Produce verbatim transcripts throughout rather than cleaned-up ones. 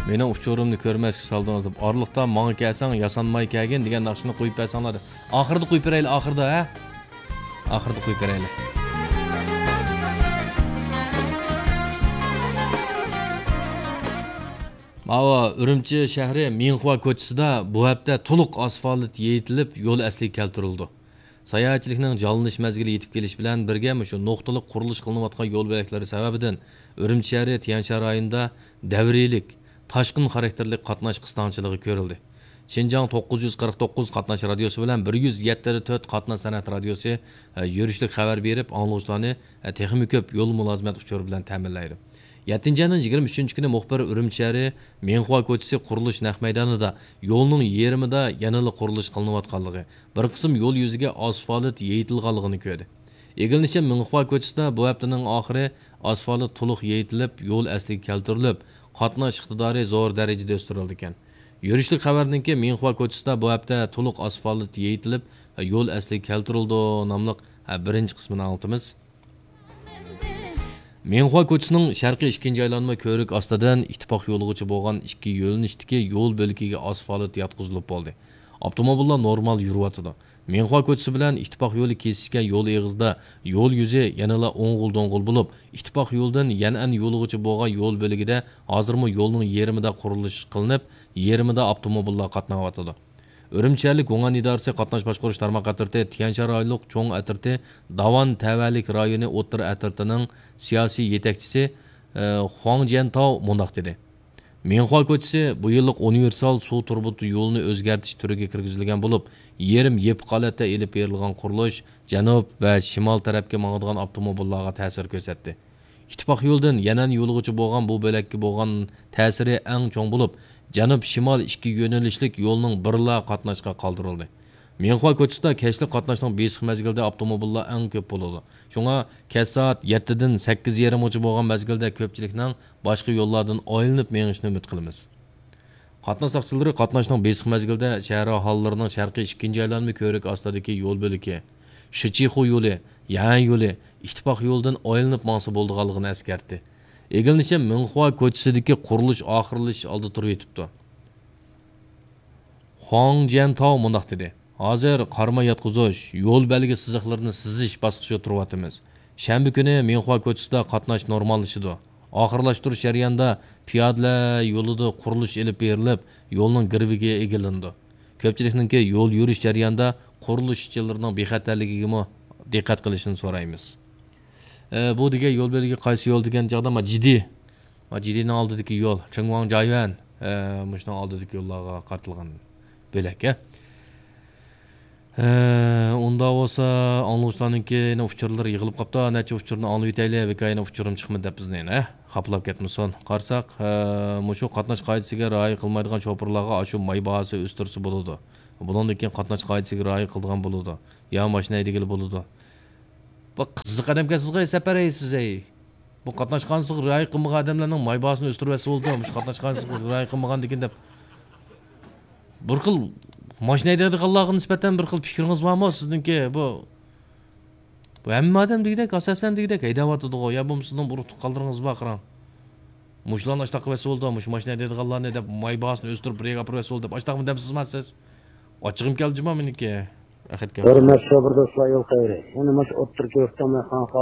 مېنىڭ ئۇچۇرۇمنى كۆرمەسكە سالدىڭىز دەپ، ئارىلىقتا ماڭا كەلسەڭ ياسانماي كەلگىن دېگەن ناخشىنى قويۇپ بەرسەڭلار دەپ. ئاخىرىدا قويۇپ بېرەيلى، ئاخىرىدا، ھە؟ ئاخىرىدا قويۇپ بېرەيلى. ماۋۇ ئۈرۈمچى شەھىرى مىڭخۇا كوچىسىدا بۇ ھەپتە تولۇق ئاسفالت يېيىتىلىپ، يول ئەسلىگە كەلتۈرۈلىدۇ. ساياھەتچىلىكنىڭ جانلىنىش مەزگىلى يېتىپ كېلىشى بىلەن بىرگە، مۇشۇ نۇقتىلىق قۇرۇلۇش قىلىنىۋاتقان يول بۆلەكلىرى سەۋەبىدىن ئۈرۈمچى شەھىرى تيەنشان رايونىدا دەۋرىيلىك تاشقىن خاراكتېرلىك قاتناش قىستاڭچىلىقى كۆرۈلدى. شىنجاڭ توققۇز يۈز قىرىق توققۇز قاتناش رادىيوسى بىلەن بىر يۈز يەتتە تۆت قاتناش سەنئەت رادىيوسى، ئە، يۈرۈشلۈك خەۋەر بېرىپ، ئاڭلىغۇچىلارنى، ئە، تېخىمۇ كۆپ يول مۇلازىمەت ئۇچۇرى بىلەن تەمىنلەيدۇ. يەتتىنچى ئاينىڭ يىگىرمە ئۈچىنچى كۈنى مۇخبىر ئۈرۈمچى شەھىرى مىڭخۇا كوچىسى قۇرۇلۇش نەق مەيدانىدا يولنىڭ يېرىمىدا يەنىلا قۇرۇلۇش قىلىنىۋاتقانلىقى، بىر قىسىم يول يۈزىگە ئاسفالت يېيىتىلغانلىقىنى كۆردى. ئىگىلىنىشىچە، مىڭخۇا كوچىسىدا بۇ ھەپتىنىڭ ئاخىرى ئاسفالت تولۇق يېيىتىلىپ، يول ئەسلىگە كەلتۈرۈلۈپ، قاتناش ئىقتىدارى زور دەرىجىدە ئۆستۈرۈلىدىكەن. يۈرۈشلۈك خەۋەرنىڭكى مىڭخۇا كوچىسىدا بۇ ھەپتە تولۇق ئاسفالت يېيىتىلىپ، يول ئەسلىگە كەلتۈرۈلىدۇ ناملىق بىرىنچى قىسمىنى ئاڭلىتىمىز. مىڭخۇا كوچىسىنىڭ شەرقىي ئىككىنچى ئايلانما كۆۋرۈك ئاستىدىن ئىتتىپاق يولىغىچە بولغان ئىككى يۆنىلىشتىكى يول بۆلىكىگە ئاسفالت ياتقۇزۇلۇپ بولدى. ئاپتوموبىللار نورمال يۈرۈۋاتىدۇ. مىڭخۇا كوچىسى بىلەن ئىتتىپاق يولى كېسىشكەن يول ئېغىزىدا يول يۈزى يەنىلا ئوڭغۇل-دوڭغۇل بولۇپ، ئىتتىپاق يولىدىن يەنئەن يولىغىچە بولغان يول بۆلىكىدە ھازىرمۇ يولنىڭ يېرىمىدا قۇرۇلۇش قىلىنىپ، يېرىمىدا ئاپتوموبىللار قاتناۋاتىدۇ. ئۈرۈمچى شەھەرلىك گۇڭئەن ئىدارىسى قاتناش باشقۇرۇش تارماق ئەترىتى، تيەنشان رايونلۇق چوڭ ئەترىتى، داۋان تەۋەلىك رايونى ئوتتۇرا ئەترىتىنىڭ سىياسىي يېتەكچىسى، ئى، خۇاڭ جيەنتاۋ مۇنداق دېدى: مىڭخۇا كوچىسى بۇ يىللىق ئۇنىۋېرسال سۇ تۇرۇبا يولىنى ئۆزگەرتىش تۈرىگە كىرگۈزۈلگەن بولۇپ، يېرىم يېپىق ھالەتتە ئېلىپ بېرىلغان قۇرۇلۇش جەنۇب ۋە شىمال تەرەپكە ماڭىدىغان ئاپتوموبىللارغا تەسىر كۆرسەتتى. ئىتتىپاق يولىدىن يەنئەن يولىغىچە بولغان بۇ بۆلەككە بولغان تەسىرى ئەڭ چوڭ بولۇپ، جەنۇب شىمال ئىككى يۆنىلىشلىك يولنىڭ بىرلا قاتناشقا قالدۇرۇلدى. مىڭخۇا كوچىسىدا كەچلىك قاتناشنىڭ بېسىق مەزگىلىدە ئاپتوموبىللار ئەڭ كۆپ بولىدۇ. شۇڭا كەچ سائەت يەتتىدىن سەككىز يېرىمغىچە بولغان مەزگىلدە كۆپچىلىكنىڭ باشقا يوللاردىن ئايلىنىپ مېڭىشىنى ئۈمىد قىلىمىز. قاتناش ساقچىلىرى قاتناشنىڭ بېسىق مەزگىلىدە شەھەر ئاھالىلىرىنىڭ شەرقىي ئىككىنچى ئايلانما كۆۋرۈكى ئاستىدىكى يول بۆلىكى، شىچىخۇ يولى، يەنئەن يولى، ئىتتىپاق يولىدىن ئايلىنىپ ماڭسا بولىدىغانلىقىنى ئەسكەرتتى. ئىگىلىنىشىچە، مىڭخۇا كوچىسىدىكى قۇرۇلۇش ئاخىرلىشىش ئالدىدا تۇرۇۋېتىپتۇ. خۇاڭ جيەنتاۋ مۇنداق دېدى: ھازىر قارىما ياتقۇزۇش، يول بەلگە سىزىقلىرىنى سىزىش باسقۇچىدا تۇرۇۋاتىمىز. شەنبە كۈنى مىڭخۇا كوچىسىدا قاتناش نورماللىشىدۇ. ئاخىرلاشتۇرۇش جەريانىدا پىيادىلەر يولىدا قۇرۇلۇش ئېلىپ بېرىلىپ، يولنىڭ گىرۋىكى ئېگىلىنىدۇ. كۆپچىلىكنىڭكى يول يۈرۈش جەريانىدا قۇرۇلۇش ئىشچىلىرىنىڭ بىخەتەرلىكىگىمۇ دىققەت قىلىشىنى سورايمىز. ئە، بۇ دېگەن يول بۆلىكى قايسى يول دېگەن چاغدا، ما، جىدى. ما، جىدىنىڭ ئالدىدىكى يول، چېڭۋاڭ جايۈەن، ئە، مۇشۇنىڭ ئالدىدىكى يوللارغا قارىتىلغان بۆلەك، ئە. ئە، ئۇنداق بولسا، ئاڭلىغۇچىلارنىڭكى يەنە ئۇچۇرلىرى يىغىلىپ قاپتۇ. نەچچە ئۇچۇرنى ئاڭلىۋېتەيلى، بىكار يەنە ئۇچۇرۇم چىقمىدى دەپ بىزنى يەنە خاپىلاپ كەتمىسۇن. قارىساق، ئە، مۇشۇ قاتناش قائىدىسىگە رىئايە قىلمايدىغان شوپۇرلارغا ئاشۇ ماي باھاسى ئۆستۈرسە بولىدۇ. بۇنىڭدىن كېيىن قاتناش قائىدىسىگە رىئايە قىلىدىغان بولىدۇ. يا ماشىنا ھەيدىگىلى بولىدۇ. بۇ قىزىق ئادەمكەنسىزغۇ، سەپەر ھەي سىز ھەي. بۇ قاتناش قائىدىسىغا رىئايە قىلمىغان ئادەملەرنىڭ ماي باھاسىنى ئۆستۈرۈۋەتسە بولىدۇ. مۇشۇ قاتناش قائىدىسىغا رىئايە قىلمىغاندىكىن دەپ. بىر خىل ماشىنا ھەيدەيدىغانلارغا نىسبەتەن بىر خىل پىكرىڭىز بارمۇ سىزنىڭكى؟ بۇ، بۇ ھەممە ئادەم دېگۈدەك، ئاساسەن دېگۈدەك ھەيدەۋاتىدىغۇ. يا بولمىسا سىزنىڭ بىر ئۇرۇق تۇغقانلىرىڭىز بار قاراڭ. مۇشۇلارنى ئاشتاق قىلىۋەتسە بولىدۇ، مۇشۇ ماشىنا ھەيدەيدىغانلارنى دەپ ماي باھاسىنى ئۆستۈرۈپ بىر يەرگە ئاپىرىۋەتسە بولىدۇ دەپ ئاشتاقمۇ دەمسىزما سىز؟ ئاچچىقىم كەلدى جۇما مېنىڭكى. ئەخەتكە. ھۆرمەتلىك شوپۇر دوستلار، يول خەيرى. يەنە مۇشۇ ئوتتۇرا كۆكتام مەيخانىغا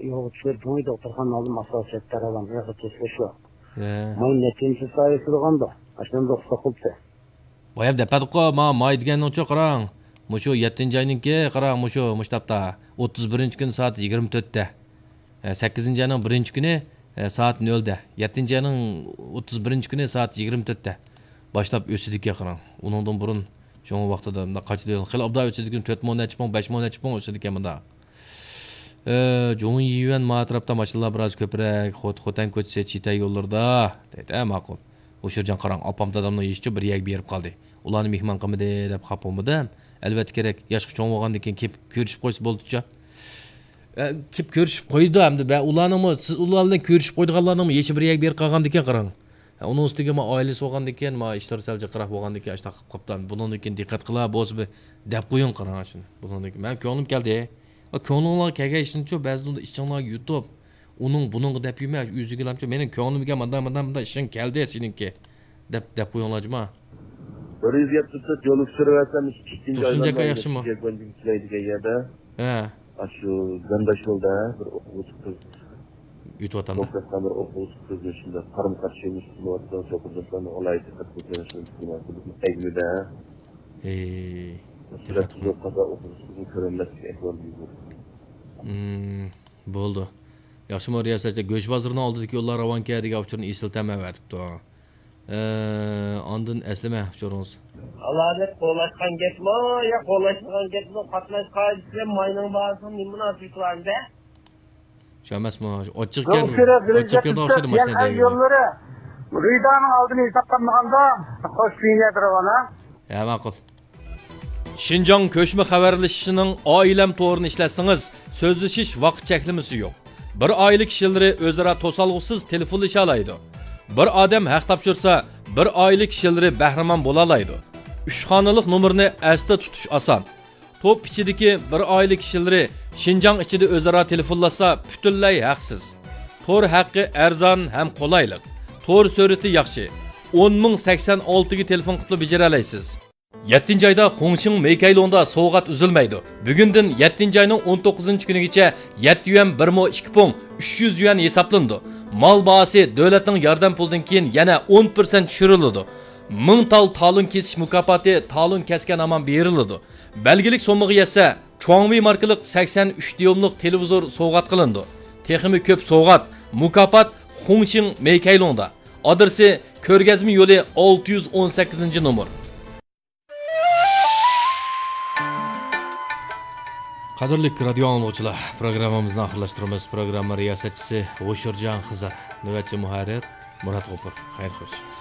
يولغا چۈشۈپ، جۇڭيى دوختۇرخانا ئالدىم ئاساسىيەت تەرەۋان ئېغىر تېشىلىش يوق. ھە. ماي نەچچىنچى سائەت تۇرغاندۇ؟ ئاشۇنى رۇخسەت قىلىپتۇ. بايام دەپەتقۇ، ما، ماي دېگەننىڭچۇ قاراڭ. مۇشۇ يەتتىنچى ئاينىڭكى، قاراڭ، مۇشۇ، مۇشۇ تاپتا. ئوتتۇز بىرىنچى كۈنى سائەت يىگىرمە تۆتتە. ئە، سەككىزىنچى ئاينىڭ بىرىنچى كۈنى، ئە، سائەت نۆلدە. يەتتىنچى ئاينىڭ ئوتتۇز بىرىنچى كۈنى سائەت يىگىرمە تۆتتە. باشلاپ ئۆسىدىكەن قاراڭ. ئۇنىڭدىن بۇرۇن، شۇڭا ۋاقتىدا مۇنداق قاچىدى، خېلى ئوبدان ئۆسىدىكەن، تۆت مو نەچچە پۇڭ، بەش مو نەچچە پۇڭ ئۆسىدىكەن مۇنداق. ئە، جۇڭيۈەن ما ئەتراپتا ماشىنىلار بىراز كۆپرەك، خو-، خوتەن كوچىسى، چىتەي يوللىرىدا. دەيدۇ، ئە، ماقۇل. ھوشۇرجان قاراڭ، ئاپام دادامنىڭ يېشىچۇ بىر يەرگە بېرىپ قالدى. ئۇلارنى مېھمان قىلمىدى دەپ خاپا بولمىدىم. ئەلۋەتتە كېرەك، ياشقا چوڭ بولغاندىن كېيىن كېلىپ كۆرۈشۈپ قويسا بولدىچۇ. ئە، كېلىپ كۆرۈشۈپ قويىدۇ ئەمدى. ۋە ئۇلارنىڭمۇ، سىز ئۇلار بىلەن كۆرۈشۈپ قويىدىغانلارنىڭمۇ يېشى بىر يەرگە بېرىپ قالغاندىكىن قاراڭ. ھە، ئۇنىڭ ئۈستىگە ما ئائىلىسى بولغاندىكىن، ما ئىشلىرى سەل جىقراق بولغاندىكىن، ئاشۇنداق قىلىپ قاپتۇ. بۇنىڭدىن كېيىن دىققەت قىلا، بولسا بىر دەپ قويۇڭ قاراڭ شۇنى. بۇنىڭدىن كېيىن مەن كۆڭلۈم كەلدى. ۋە كۆڭلۈڭلارغا كەلگەن ئىشنىچۇ، بەزىدە ئۇنداق ئىچىڭلارغا يۇتۇپ، ئۇنىڭ بۇنىڭغا دەپ يۈرمە، ئۆزىگىلامچۇ. مېنىڭ كۆڭلۈمگە مانداق، مانداق، مانداق ئىشىڭ كەلدى سېنىڭكى. دەپ، دەپ قويۇڭلار جۇما. بىر يۈز يەتمىش تۆت يول ئۇچۇرى ۋەتەن ئىككىنچى تۇرسۇن ئايلانما جاكا ياخشىمۇ؟ يەتتىنچى ئايگە كېلەيدىكەن يەردە. ھە. ئاشۇ گانداشيولدا بىر ئوقۇغۇچى قىز، ئۆتۈۋاتامدا. توك تارتقان بىر ئوقۇغۇچى قىزنى شۇنداق قارمۇ قارشى يۈرۈش قىلىۋاتىدىغان چوقۇنلاشلارنى ئالاھىدە دىققەت قىلىپ بېرىشنى ئېيتىمەن. ھەي، دىققەت قىلىڭ. قازا ئوقۇغۇچى قىزنى كۆرەلمەسلىك ئەھۋالى يۈز بەردى. مم، بولدى. ياخشىمۇ رىياسەتچى، گۆش بازىرىنىڭ ئالدىدىكى يوللار راۋانكى دېگەن ئۇچۇرنى ئېسىل تەمەۋەتىپتۇ. ئە، ئاندىن ئەسلىمە ئۇچۇرىڭىز. ئالاھىدە قولاشقان گەپمۇ يا قولاشمىغان گەپمۇ، قاتناش قائىدىسى بىلەن ماينىڭ باھاسىنىڭ نېمە مۇناسىۋىتى بار ئەمدى؟ شۇ ئەمەسمۇ؟ ئاچچىق كەلدى، ئاچچىق كەلدى ئوخشايدۇ ماشىنا دەيدۇ. يوللىرى رىدانىڭ ئالدىنى ھېسابلانمىغاندا، خوش بىنىيەت رەۋانە. ھە، ماقۇل. شىنجاڭ كۆچمە خەۋەرلىشىشىنىڭ ئائىلەم تورىنى ئىشلەتسىڭىز، سۆزلىشىش ۋاقىت چەكلىمىسى يوق. بىر ئائىلە كىشىلىرى ئۆزئارا توسالغۇسىز تېلېفونلىشالايدۇ. بىر ئادەم ھەق تاپشۇرسا، بىر ئائىلە كىشىلىرى بەھرىمەن بولالايدۇ. ئۈچ خانىلىق نومۇرنى ئەستە تۇتۇش ئاسان. توپ ئىچىدىكى بىر ئائىلە كىشىلىرى شىنجاڭ ئىچىدە ئۆزئارا تېلېفونلاشسا، پۈتۈنلەي ھەقسىز. تور ھەققى ئەرزان ھەم قولايلىق. تور سۈرئىتى ياخشى. ئون مىڭ سەكسەن ئالتىگە تېلېفون قىلىپلا بېجىرەلەيسىز. يەتتىنچى ئايدا خۇڭشىڭ مېيكەيلۇڭدا سوۋغات ئۈزۈلمەيدۇ. بۈگۈندىن يەتتىنچى ئاينىڭ ئون توققۇزىنچى كۈنىگىچە يەتتە يۈەن بىر مو ئىككى پۇڭ ئۈچ يۈز يۈەن ھېسابلىنىدۇ. مال باھاسى دۆلەتنىڭ ياردەم پۇلىدىن كېيىن يەنە ئون پىرسەنت چۈشۈرۈلىدۇ. مىڭ تال تالون كېسىش مۇكاپاتى تالون كەسكەن ھامان بېرىلىدۇ. بەلگىلىك سوممىغا يەتسە، چۇاڭۋېي ماركىلىق سەكسەن ئۈچ دىيوملۇق تېلېۋىزور سوۋغات قىلىنىدۇ. تېخىمۇ كۆپ سوۋغات، مۇكاپات خۇڭشىڭ مېيكەيلۇڭدا. ئادرېسى: كۆرگەزمە يولى، ئالتە يۈز ئون سەككىزىنچى نومۇر. قەدىرلىك رادىيو ئاڭلىغۇچىلار، پروگراممىمىزنى ئاخىرلاشتۇرىمىز. پروگرامما رىياسەتچىسى ھوشۇرجان خىزىر، نۆۋەتچى مۇھەررىر مۇرات غوپۇر. خەير خوش.